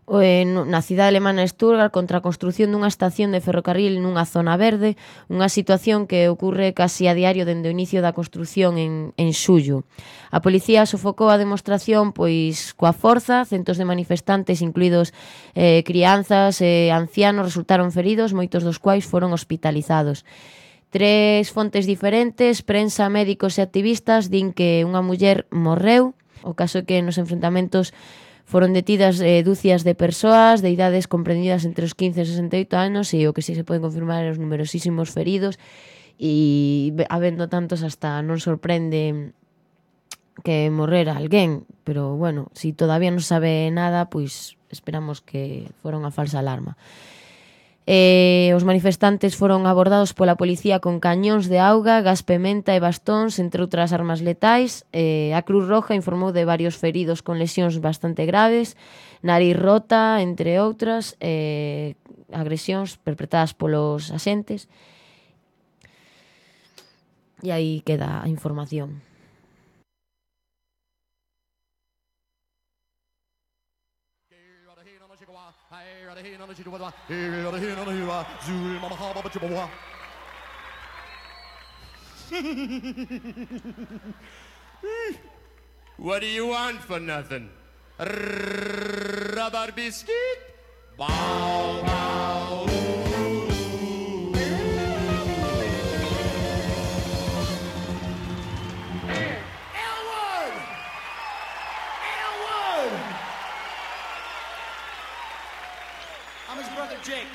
na cidade alemana Stuttgart contra a construción dunha estación de ferrocarril nunha zona verde, unha situación que ocorre casi a diario dende o inicio da construción en xullo. A policía sofocou a demostración pois coa forza, centos de manifestantes, incluídos crianzas e ancianos, resultaron feridos, moitos dos quais foron hospitalizados. 3 fontes diferentes, prensa, médicos e activistas, din que unha muller morreu. O caso é que nos enfrentamentos foron detidas dúcias de persoas de idades comprendidas entre os 15 e 68 anos e o que si se poden confirmar é os numerosísimos feridos e habendo tantos hasta non sorprende que morrera alguén, pero bueno, si todavía non sabe nada, pois esperamos que fora unha falsa alarma. Os manifestantes foron abordados pola policía con cañóns de auga, gas pementa e bastóns, entre outras armas letais. A Cruz Roja informou de varios feridos con lesións bastante graves, nariz rota, entre outras, agresións perpetradas polos axentes. E aí queda a información. What do you want for nothing? Rubber biscuit? Bow, bow. Elwood! Elwood! I'm his brother Jake.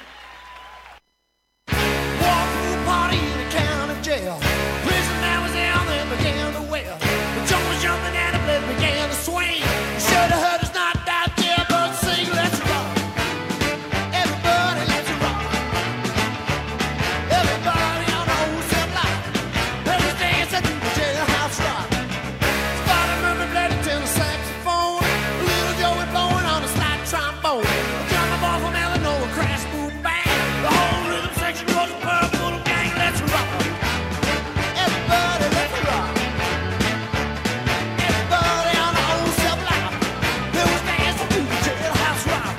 Walked through a party in a county jail. Prison man was down there began to wail. The jump was jumping and the blood began to swing. You should have heard us not out there, but sing, let's rock. Everybody, let's rock. Everybody on the whole cell block. Let us dance at the jailhouse rock. Spider-Man played a tenor saxophone. Little Joey blowing on a slide trombone. John the ball from Illinois, crash, boom, bang. The whole rhythm section was purple gang. Let's rock. Everybody, let's rock. Everybody on the old cell block. They was dancing to the jailhouse rock.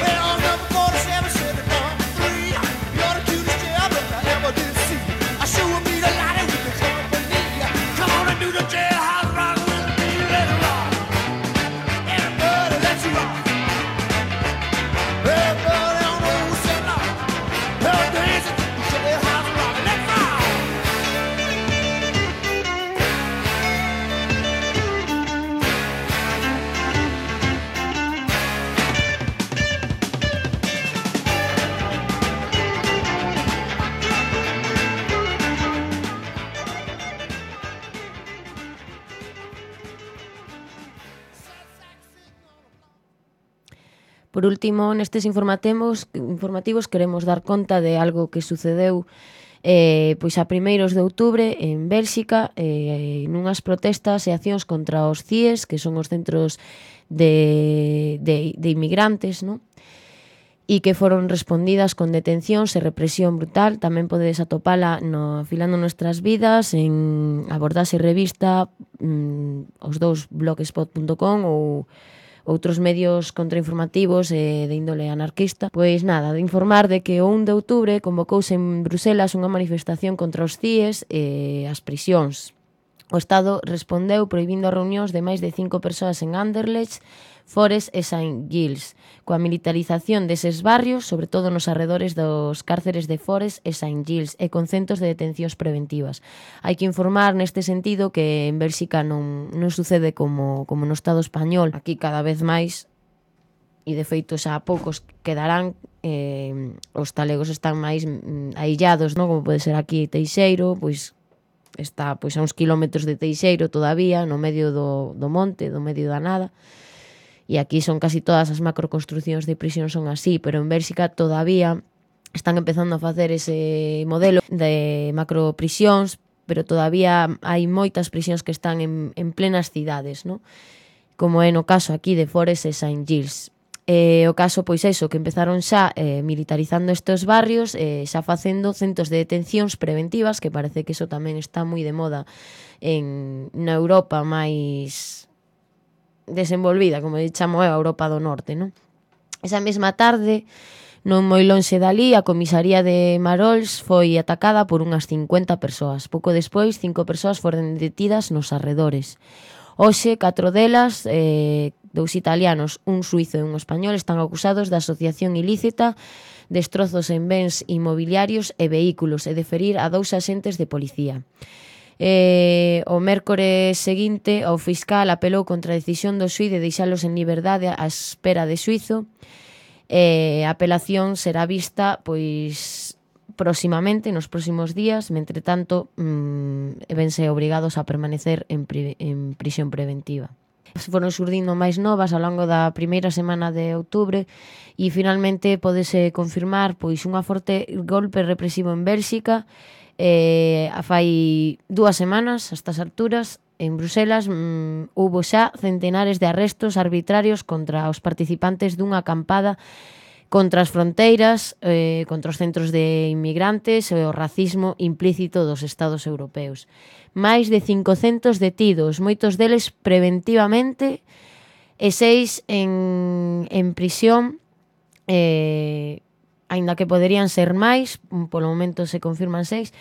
Well, number 47 said it number 3. You're the cutest jailbird I ever did see. I sure will be delighted with your company. Come on and do the jailhouse rock with me. Let's rock. Everybody, let's rock. Everybody on the old cell block. They're dancing to the jailhouse rock. Let's rock. Por último, nestes informativos queremos dar conta de algo que sucedeu pois a primeiros de outubro en Bélxica, nunhas protestas e accións contra os CIES, que son os centros de inmigrantes, non? E que foron respondidas con detencións e represión brutal. Tamén podedes atopala no Afilando Nuestras Vidas, en Abordase Revista, os dous blogspot.com ou outros medios contrainformativos de índole anarquista. Pois nada, de informar de que o 1 de outubro convocouse en Bruselas unha manifestación contra os CIES e as prisións. O Estado respondeu prohibindo as reunións de máis de 5 persoas en Anderlecht, Forres e Saint Gilles, coa militarización deses barrios, sobre todo nos arredores dos cárceres de Forres e Saint Gilles, e con centos de detencións preventivas. Hai que informar neste sentido que en Bélxica non sucede como no Estado español. Aquí cada vez máis, e de feito xa a poucos quedarán, os talegos están máis aillados, non? Como pode ser aquí Teixeiro, pois está pois a uns kilómetros de Teixeiro todavía, no medio do monte, do medio da nada. E aquí son casi todas as macroconstruccións de prisión son así, pero en Bélxica todavía están empezando a facer ese modelo de macroprisións, pero todavía hai moitas prisións que están en plenas cidades, non? Como é no caso aquí de Forres e Saint Gilles. O caso, pois eso, que empezaron xa militarizando estes barrios, xa facendo centos de detencións preventivas, que parece que eso tamén está moi de moda na Europa máis desenvolvida, como chamo eu, a Europa do Norte, non? Esa mesma tarde, non moi lonxe dali, a comisaría de Marols foi atacada por unhas 50 persoas. Pouco despois, 5 persoas foron detidas nos arredores. Hoxe, 4 delas, 2 italianos, un suizo e un español, están acusados de asociación ilícita, destrozos en bens inmobiliarios e vehículos e de ferir a 2 axentes de policía. O mércores seguinte, o fiscal apelou contra a decisión do xuíz de deixalos en liberdade á espera de xuízo. A apelación será vista pois próximamente, nos próximos días. Mentre tanto, vense obrigados a permanecer en prisión preventiva. Foron surdindo máis novas ao longo da primeira semana de outubro e finalmente podese confirmar pois unha forte golpe represivo en Bélxica. Fai 2 semanas, a estas alturas, en Bruselas houbo xa centenares de arrestos arbitrarios contra os participantes dunha acampada contra as fronteiras, contra os centros de inmigrantes e o racismo implícito dos estados europeos. Máis de 500 detidos, moitos deles preventivamente, e 6 en prisión, aínda que poderían ser máis, polo momento se confirman 6.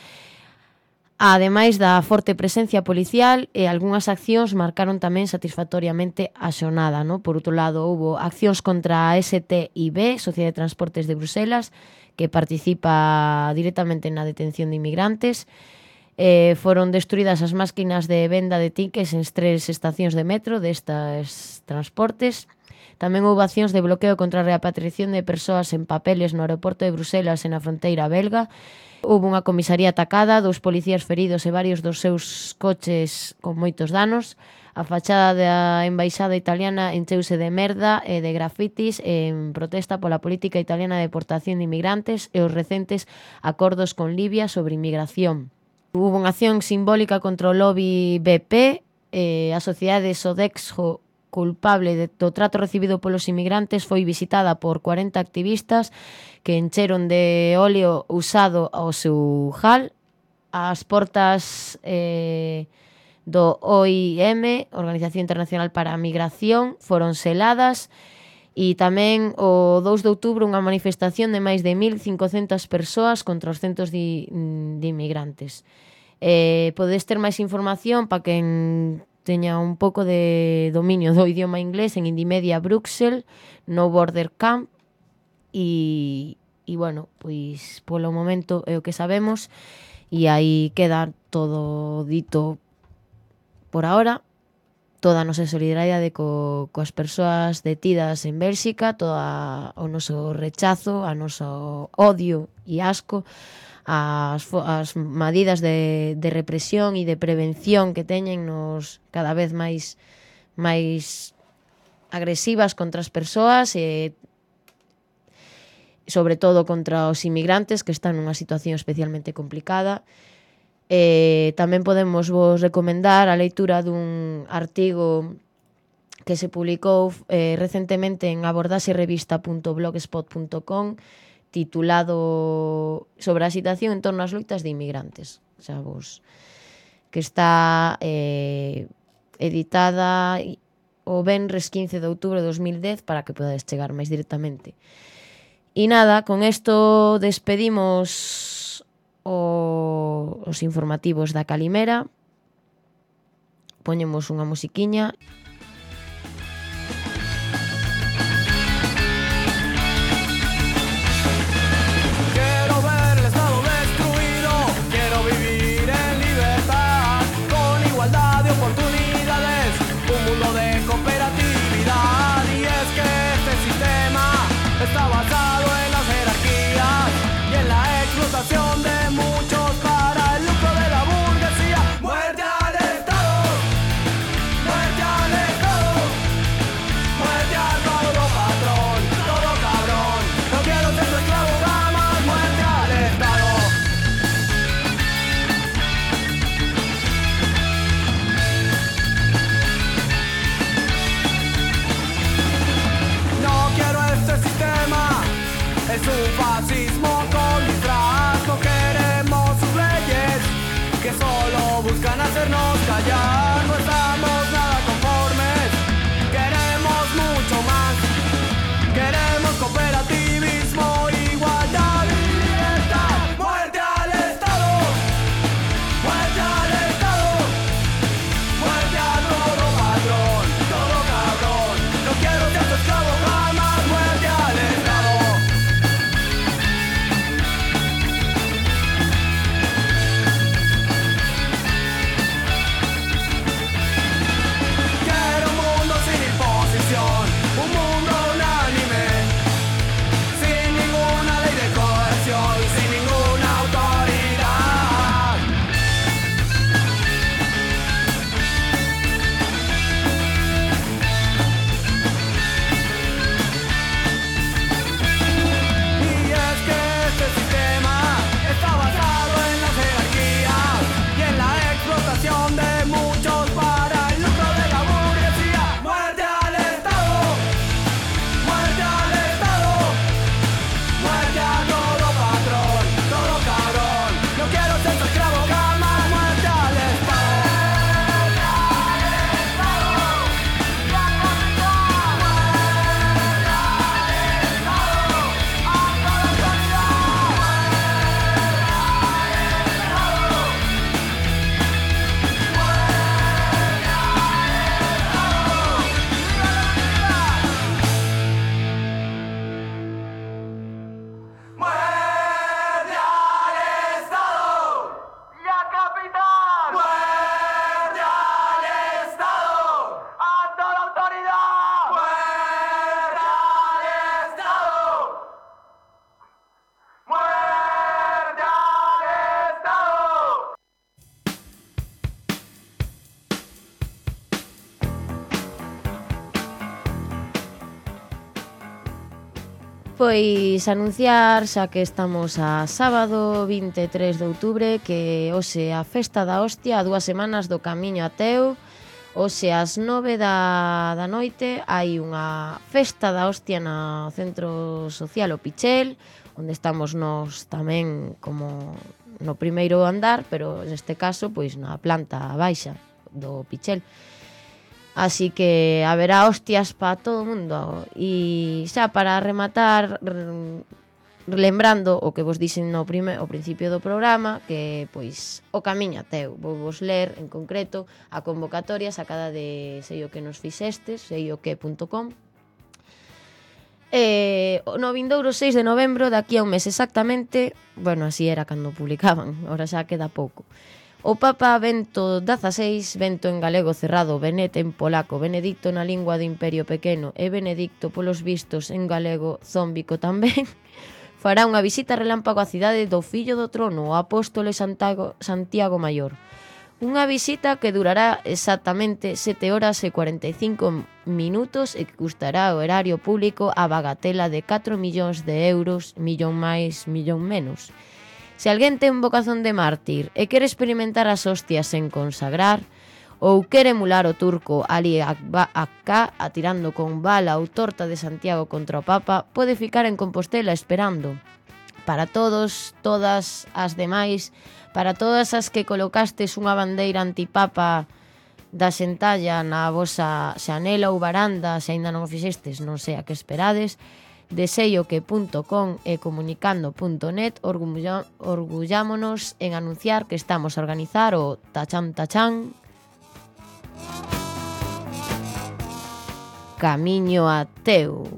Ademais da forte presencia policial, e algunhas accións marcaron tamén satisfactoriamente a xornada, no? Por outro lado, houbo accións contra a STIB, Sociedade de Transportes de Bruselas, que participa directamente na detención de inmigrantes. Foron destruídas as máquinas de venda de tickets en 3 estacións de metro destas transportes. Tamén houve accións de bloqueo contra a repatriación de persoas en papeles no aeroporto de Bruselas e na fronteira belga. Houve unha comisaría atacada, 2 policías feridos e varios dos seus coches con moitos danos. A fachada da embaixada italiana encheuse de merda e de grafitis en protesta pola política italiana de deportación de inmigrantes e os recentes acordos con Libia sobre inmigración. Houve unha acción simbólica contra o lobby BP, a sociedade Sodexo, culpable do trato recibido polos inmigrantes, foi visitada por 40 activistas que encheron de óleo usado ao seu hall. As portas do OIM, Organización Internacional para a Migración, foron seladas, e tamén o 2 de outubro unha manifestación de máis de 1.500 persoas contra os centros de inmigrantes. Podedes ter máis información para quen teña un pouco de dominio do idioma inglés en Indymedia Bruxelles, No Border Camp, e bueno, pois polo momento é o que sabemos, e aí queda todo dito por ahora. Toda a nosa solidaridade coas persoas detidas en Bélxica, todo o noso rechazo, a noso odio e asco as medidas de represión e de prevención que teñen nos cada vez máis agresivas contra as persoas e sobre todo contra os inmigrantes que están nunha situación especialmente complicada. Tamén podemos vos recomendar a leitura dun artigo que se publicou recentemente en abordaxerevista.blogspot.com titulado sobre a situación en torno ás loitas de inmigrantes, que está editada o venres 15 de outubro de 2010 para que podades chegar máis directamente. E nada, con isto despedimos os informativos da Calimera. Poñemos unha musiquiña. Está basado en las jerarquías y en la explotación de muchos para el lucro de la burguesía. ¡Muerte al Estado! ¡Muerte al Pois anunciar, xa que estamos a sábado 23 de outubro, que hoxe a Festa da Hostia, a 2 semanas do Camiño a Teu. Hoxe ás 9 da noite hai unha Festa da Hostia no Centro Social O Pichel, onde estamos nós tamén como no primeiro andar, pero neste caso pois na planta baixa do Pichel. Así que haberá hostias para todo o mundo. E xa para rematar, lembrando o que vos dixen ao principio do programa, que pois o Camiño a Teu, vou vos ler en concreto a convocatoria sacada de sei o que nos fixestes, seioque.com. No vindouro 6 de novembro, daqui a un mes exactamente, bueno, así era cando publicaban, ahora xa queda pouco. O Papa Bento XVI, Bento en galego cerrado, Benet en polaco, Benedicto na lingua do Imperio Pequeno e Benedicto polos vistos en galego zómbico tamén, fará unha visita relámpago á cidade do fillo do trono, o apóstolo Santiago Maior. Unha visita que durará exactamente 7 horas e 45 minutos e que custará o erario público a bagatela de 4 millóns de euros, millón máis, millón menos. Se alguén ten vocación de mártir e quere experimentar as hostias sen consagrar, ou quere emular o turco Ali Akka atirando con bala ou torta de Santiago contra o Papa, pode ficar en Compostela esperando. Para todos, todas as demais, para todas as que colocastes unha bandeira antipapa da xentalla na vosa xanela ou varanda, se aínda non o fixestes, non sei a que esperades, de seioque.com e comunicando.net orgullámonos en anunciar que estamos a organizar o Tachán Camiño a Teu.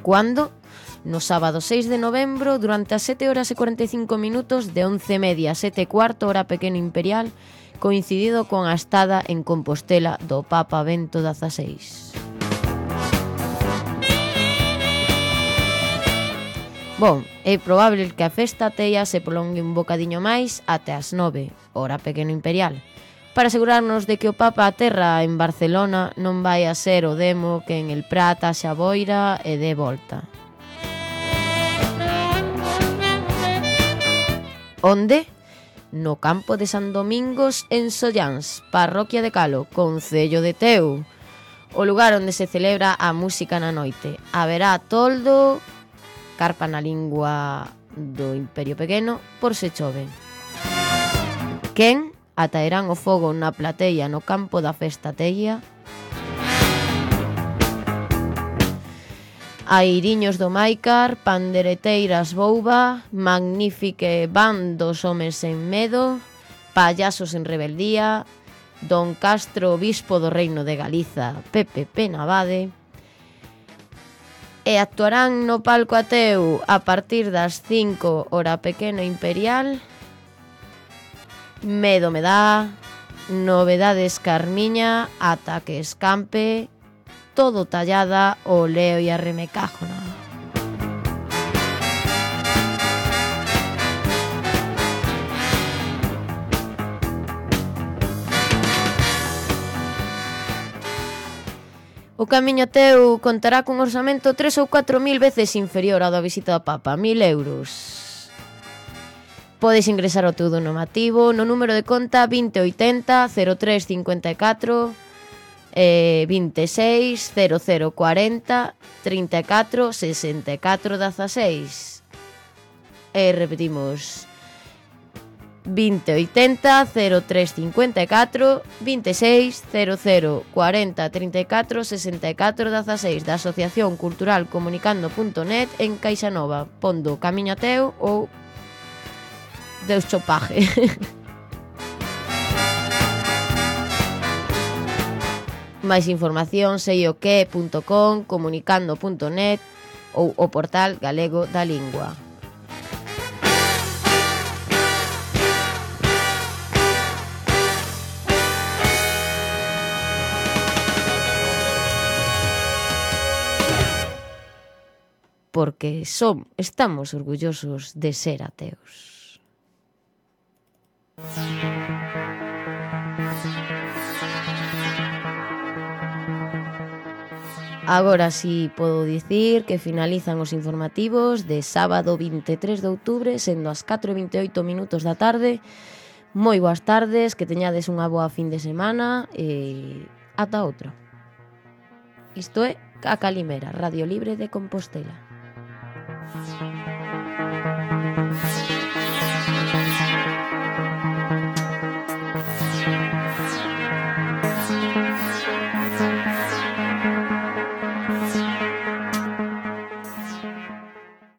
Cuando? No sábado 6 de novembro, durante as 7 horas e 45 minutos, de 11:30 a 7:15 hora pequeno imperial, coincidido con a estada en Compostela do Papa Bento XVI. Bon, é probable que a festa teia se prolongue un bocadiño máis até as 9, hora pequeno imperial, para asegurarnos de que o Papa aterra en Barcelona non vai a ser o demo que en el Prat a Xaboira e de volta. Onde? No campo de San Domingos en Solláns, parroquia de Calo, concello de Teu, o lugar onde se celebra a música na noite. Haberá toldo, carpa na lingua do Imperio Pequeno, por se chove. Quen? Ataerán o fogo na plateia no campo da Festa Teia. Airiños do Maicar, pandereteiras Bouba, magnífique van dos homes en medo, payasos en rebeldía, Don Castro, obispo do Reino de Galiza, Pepe Navade, e actuarán no palco Ateu a partir das 5 hora pequeno imperial, Medo me dá, Novedades Carmiña, Ata que escampe, todo tallada o leo e a remecájona. O Camiño a Teu contará cun orzamento 3 ou 4 mil veces inferior ao da visita do Papa, 1.000 euros. Podes ingresar o teu donativo no número de conta 2080 0354 26 0040 34 64 16. E repetimos 2080 0354 26 0040 34 64 16 da Asociación Cultural Comunicando.net en Caixanova, pondo Camiño a Teu ou Deus chopaje. Máis información seioque.com, comunicando.net ou o portal galego da lingua. Porque estamos orgullosos de ser ateos. Agora sí podo dicir que finalizan os informativos de sábado 23 de outubro, sendo as 4:28 da tarde. Moi boas tardes, que teñades unha boa fin de semana e ata outra. Isto é A Calimera, Radio Libre de Compostela.